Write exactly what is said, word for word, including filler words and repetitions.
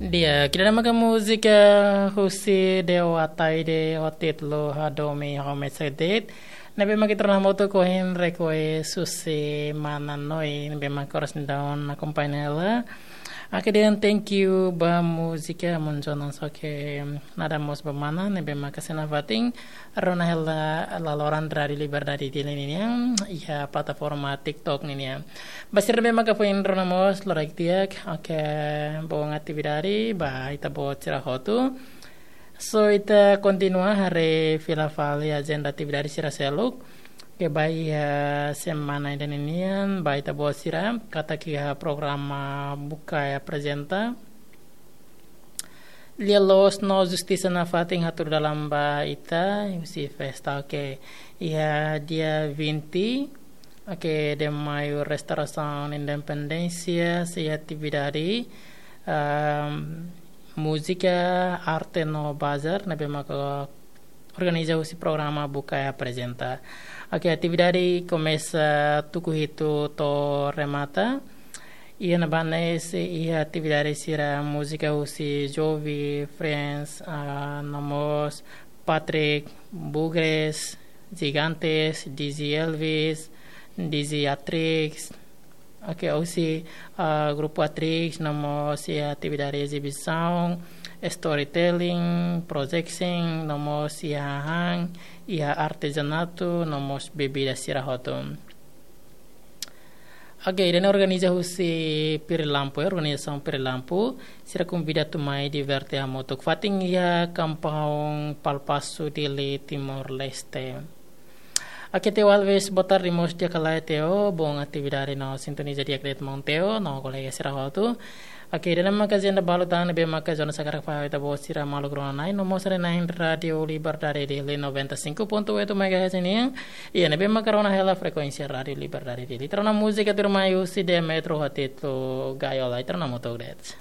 Di'ak, ida-ne'e maka múzika husi Dewa Ataide ho títulu Hadomi Homestead. Ne'ebé maka ita rona hamutuk ohin request husi mana Noi, ne'ebé maka oras ne'e daudaun akompaña hela. Oke, dehan thank you ba múzika, munjonan soke nada mós ba mana, ne'ebé maka sei nafatin rona hela laloran Rádiu Liberdade Dili ninian iha plataforma TikTok ninian. Ba sira ne'ebé maka foin rona mós, loraik di'ak, oke, bom atividade ba ita-boot sira hotu. So, ita kontinua haree fila fali ajenda atividade sira seluk. Oke, ba iha semana ida ninian, ba ita-boot sira, katak iha programa Bukae Aprezenta. Lia-loos no justisa nafatin hatudu dalan ba ita, husi festa, oke. Iha dia vinte, oke, de Maiu, Restaurasaun Independénsia, sei iha atividade, ahm, múzika, arte no bazar, ne'ebé maka organiza husi programa Bukae Aprezenta. Oke, atividade komesa tuku hitu to'o remata. Iha ne'ebá ne'e sei iha atividade sira múzika husi Jovi, Friends, ah, no mós Patrick, Bugres, Gigantes, D J Elvis, D J Atrix, oke, husi, ah, grupu Atrix, no mós iha atividade ezibisaun, storytelling, projection, no mós iha hahán, iha artezanatu, no mós bebida sira hotu. Oke, ida-ne'e organiza husi Pirilampu, eh, organizasaun Pirilampu, sira konvida atu mai diverte hamutuk. Fatin iha Kampaun Palpasu, Dili, Timor-Leste. Oke, Teo Alves, boa tarde mós di'ak ka lae, Teo, bom atividade no sintoniza di'ak de'it maun Teo no kolega sira hotu. Oke, ida-ne'e maka ajenda balu tan ne'ebé maka jornál sira hakarak fó ba ita-boot sira maluk rona-na'in no mós haree-na'in Rádiu Liberdade Dili noventa e cinco ponto oito megahertz nian. Iha ne'ebé maka rona hela frekuénsia Rádiu Liberdade Dili. Ita rona múzika tuirmai husi Demetro ho títulu Gaiola, ita rona hamutuk de'it.